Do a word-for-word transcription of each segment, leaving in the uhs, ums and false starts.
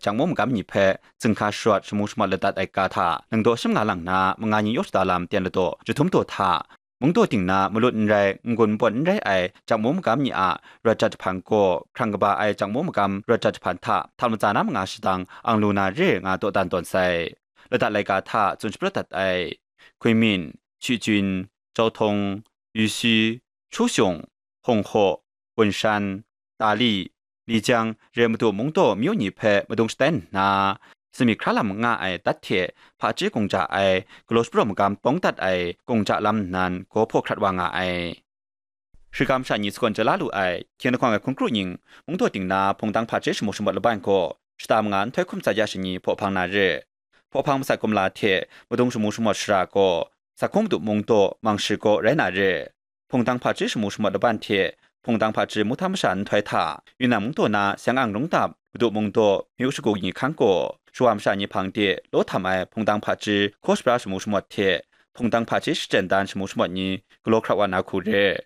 jakmu magam ni hpe zinghka sharawt shamu shamawt ladat ai ga hta, nang daw shim nga lang na manga ni yaw shada lam ten ladaw jahtum daw hta, mungdaw ting na malut n rai, n-gun npawt n rai ai jakmu magam ni a rawt jat jahpan gaw, hkrang kaba ai jakmu magam rawt jat jahpan hta htam latsa na manga shadang ang lu na re nga dawdan tawn sai. Ladat laika hta tsun shapraw dat ai. Kunming, Shijun, Jautong, Yusi, Chuxiong, Hongho, Gunshan, Dali, Lijang, re madu mungdaw myu ni hpe madung shatai nna, sumik hkra lam nga ai dat hte hpaji gungja ai, galaw shapraw magam pawng dat ai gungja lam nnan gaw hpaw hkrat wa nga ai. Shikam sha ni sagawn chye la lu ai, hkying lahkawng ai hkun kru nying, mungdaw ting na hpungdang hpaji shamu shamawt laban gaw, shata manga nhtoi hkum tsat ya shani hpaw hpang na re. Hpaw hpang masat kumla hte madung shamu shamawt shara gaw, Sakhung Madu mungdaw mang shi gaw rai na re. Hpungdang hpaji shamu shamawt laban hte hpungdang hpaji muhtam masha nhtoi hta, Yunnan mungdaw na Siang-ang rungdap Madu mungdaw myu shagu ni hkang gaw, shawa masha ni hpang de law htam ai hpungdang hpaji hkaw shabra shamu shamawt hte hpungdang hpaji shachyen dan shamu shamawt ni galaw hkrat wa na hku re.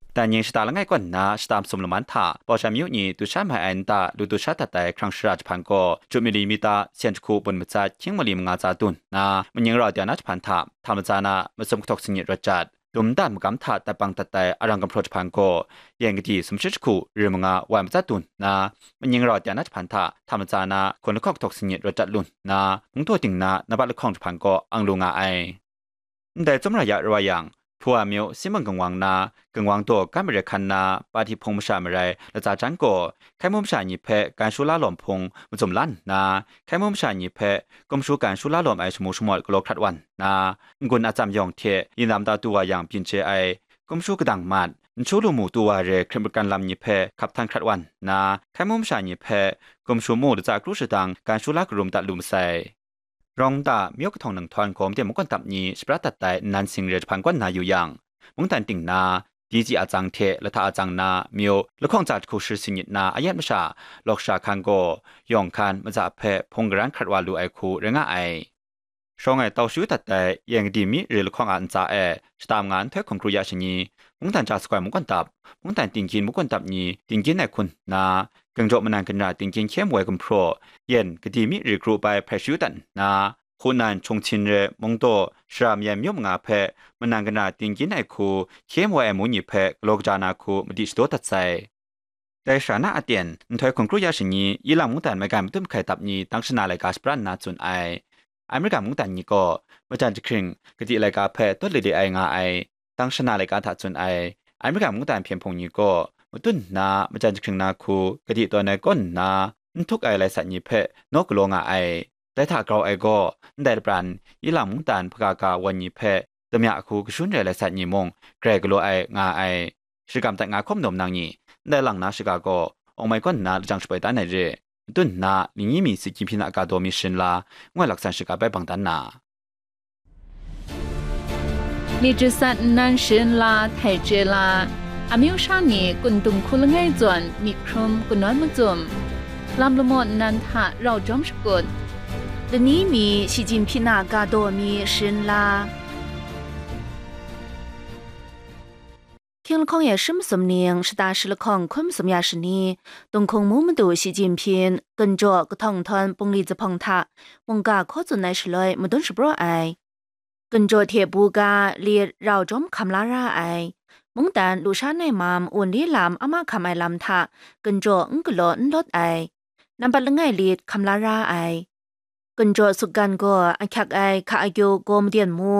Dan ning shata langai kaw nna shata masum laman hta Baoshan myu ni du sha mai ai nta lu du sha dat ai hkrang shara jahpan gaw, Jupmili mita sen jahku bun matsat hkying mali manga tsa dun nna, maning rau dai na jahpan hta htam latsa na masum kahtawk sanit rawt jat, dum dan magam hta dat bang dat ai arang gumhpraw jahpan gaw, yen kadi sumshi jahku ri manga wai matsat dun nna, maning rau dai na jahpan hta htam latsa na hkun lahkawng kahtawk sanit rawt jat lu nna, mungdaw ting na nambat lahkawng jahpan gaw ang lu nga ai. Ndai tsawmra ya rai wa yang, Hpuwa myu Simon Gangwang na, Gangwang daw Gan Mare Hkan na, Pati Hpung masha marai latsa jan gaw, hkai mu masha ni hpe gan shu la lawm hpung mazum la nna, hkai mu masha ni hpe gumshu gan shu la lawm ai shamu shamawt galaw hkrat wa nna, n-gun atsam yawng hte yin lam ta du wa yang byin chye ai, gumshu kadang mat, n shu lu mu du wa re hkrit makan lam ni hpe hkap htan hkrat wa nna, hkai mu masha ni hpe gumshu mu latsa kru shadang gan shu la karum dat lu masai. Rawng nta myu kahtawng nang htawn gawm de makawt dap ni shapra dat ai nnan sing re jahpan kaw nna yu yang, mungdan ting na, Diji atsang hte Lahta atsang na myu lahkawng tsa jahku shi sanit na ayat masha, lawk sha hkan gaw, yawng hkan maza hpe hpung garan hkrat wa lu ai hku rai nga ai. Shawng ai tau shu dat ai yen kadi mi re lahkawng a ntsa e shata manga nhtoi hkun kru ya shani, mungdan ja sakoi makawt dap, mungdan tinggyin makawt dap ni tinggyin ai hku nna, Gangjaw manan ganra tinggyin hkye mu ai gumhpraw, yen kadi mi ri kru bai hprai shayu dat nna, Hunan, Chungchin re mungdaw, Shara Mayen myu manga hpe manan ganra tinggyin ai hku hkye mu ai amu ni hpe galaw kaja na hku madi shadaw dat sai. Dai sha na aten, nhtoi hkun kru ya shani, Ilang mungdan maigan matut mahkai dap ni tang shana laika shapran nna tsun ai. Amerika mungdan ni gaw, majan jahkring kadi laika hpe tawt le le ai nga ai, tang shana laika hta tsun ai. Amerika mungdan hpyen hpung ni gaw, matut nna majan jahkring na hku kadi tawn ai kaw nna, n htuk ai lai sat ni hpe naw galaw nga ai. Dai hta grau ai gaw, ndai lapran, Ilang mungdan hpaga ga wan ni hpe damya hku kashun rai lai sat ni mung grai galaw ai nga ai. Shikam dat nga hkawm dawm nang ni, ndai lang na shiga gaw, awng mai kaw nna lajang shapoi dan ai re, matut nna, lingyi mi si gyinhpyi na ga daw mi sharin la, ngoi laksan shiga bai bang dan na. มีจิตสัตว์นั้นเชิญลาไถ่เจลา อามิวชานีกุนตุงคุลง่ายจวนมีครุมกุนน้อยมุจุม ลำละโมดนันทะเราจอมสกุล ดนี้มีชิจินพินากาโดมีเชิญลา Hkying lahkawng e shi masum ning, shata shi lahkawng hkun masum ya shani, Dinghkung mu madu Shi Jinpying, Ginjaw kahtawng nhtawm bungli zuphpawng hta mungga hkaw tsun ai shaloi madun shapraw ai. Ginjaw hte buga lit rau jawm hkam la ra ai. Mungdan lusha nai mam wunli lam a mahkam ai lam hta Ginjaw n galaw n lawt ai. Nambat langai lit hkam la ra ai. Ginjaw sukgan gaw ahkyak ai hka akyu gaw maden mu,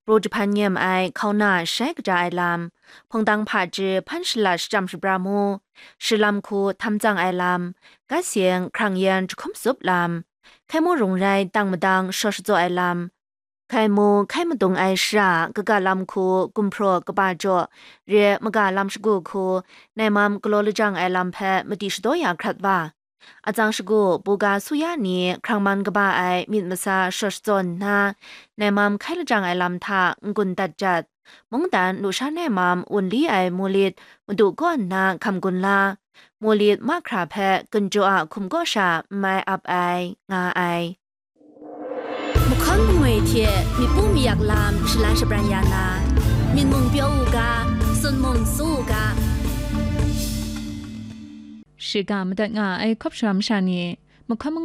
pru jahpan nyem ai hkauna shai kaja ai lam, hpungdang hpaji hpan shalat shachyam shabra mu, shilam hku htam tsang ai lam, gat seng hkrang yan jahkum zup lam, hkai mu rung rai tang madang shaw shatsaw ai lam, hkai mu hkai madung ai shara kaga lam hku gumhpraw kaba jaw, re maga lam shagu hku nai mam galaw lajang ai lam hpe madi shadaw ya hkrat wa. Atsang shagu buga suya ni hkrang man kaba ai myit masa shaw shatsaw nna, nai mam hkai lajang ai lam hta n-gun dat jat, mungdan lusha nai mam wunli ai mulit madu kaw nna hkam gun la, mulit mahkra hpe Ginjaw a hkum kaw sha n mai ap ai, nga ai. Mahkawn mangwi hte myit pu mayak lam shalan shabran ya na, myit mung pyaw u ga, sun mung su u ga. Shiga madat nga ai hkawp sharam sha ni, mahkawn mangwi